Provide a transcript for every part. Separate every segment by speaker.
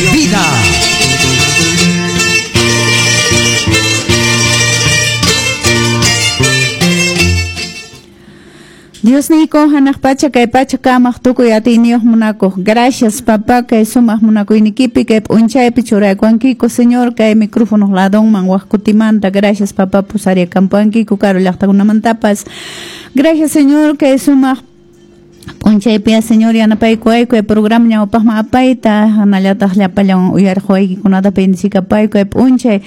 Speaker 1: Vida.
Speaker 2: Diosniyku hanaq pacha kay pacha kamaq tukuy atiyniyuq munakuq. Gracias papá kay sumaq munakuynikipi kay p'unchaypi churaykuwankiku Señor kay micrófono ladonman waq kutimanta. Gracias papá pusariakampuwankiku karu llaqtakunamantapas. Gracias Señor kay sumaq p'unchaypi Señor yanapaykuwayku kay programa ñawpaqman apayta hanallataq llapallan uyariq waykikunata bendicikapayku kay p'unchay.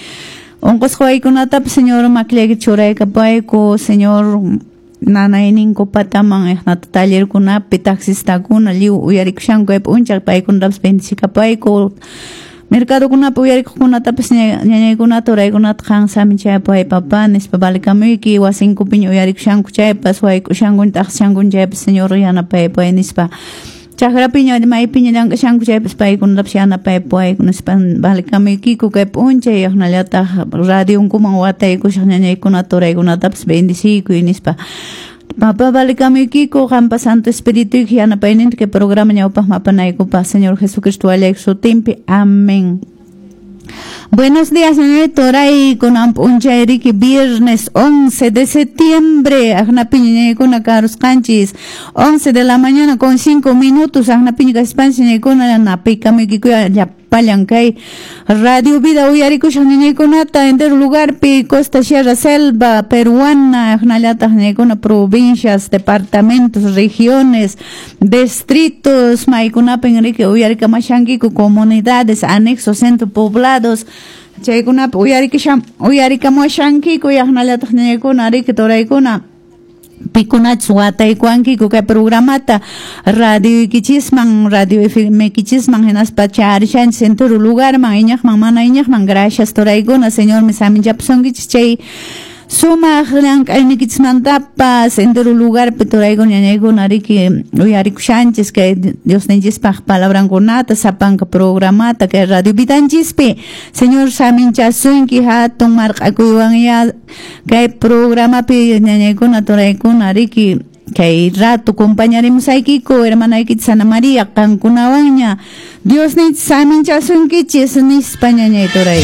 Speaker 2: Unqusqa waykunatapas Señor makillayki churaykapayku Señor nanayninku pataman ihnata tallerkunapi taxistakuna lliw uyarikushanku kay p'unchay paykunatapas bendicikapayku mercadokunapi uyarikuqkunatapas ñañaykunata uraykunata qan saminchayapay papá nispa valikamuyki wasinkupiña uyarikushanku chaypas wayk'ushanku t'aqsashanku chaypas Señor yanapaypay nispa chakrapiña maypiña llank'ashanku chaypas paykunatapas yanapaypay nispa valikamuykiku kay p'unchay hinallataq radionkuman wataykushaq ñañaykunata uraykunatapas bendiciykuy nispa Papá valikamuykiku qampa Santo Espirituyki yanapayninta kay programa ñawpaqman apanaykupaq Señor Jesucristo wallayku sutinpi. Amén. Buenos días, señor Toray, con p'unchay riki viernes 11 de septiembre, aqnapiña ñañaykuna karusqanchis 11 de la mañana con 5 minutos, aqnapiña kaspanchis ñañaykuna napikamuykiku llapallan kay Radio Vida uyarikushaq ñañaykunata entero lugarpi Costa Sierra Selva peruana, aqnallataq ñañaykuna provincias, departamentos, regiones, distritos, maykunapin riki uyarikamashankiku comunidades, anexos, centro poblados, chaykunapi uyarikamushankiku yaqnallataq ñañaykuna riki turaykuna pikunachus wataykuwankiku kay programata radioykichisman radio FMkichisman hinaspa charishanchis entero lugarman iñaqman mana iñaqman. Gracias turaykuna Señormi saminchapusunkichis chay sumaq llank'aynikichismantapas entero lugarpi turaykuna ñañaykuna riki uyarikushanchis kay Diosninchispaq palabrankunata sapanka programata kay radio vidanchispi. Señor saminchasunki hatun marq'akuywanya kay programapi ñañaykuna turaykuna riki kay rato compañarimusaykiku hermanaykichis Ana María qankunawanña Diosninchis saminchasunkichis nispa ñañay turay.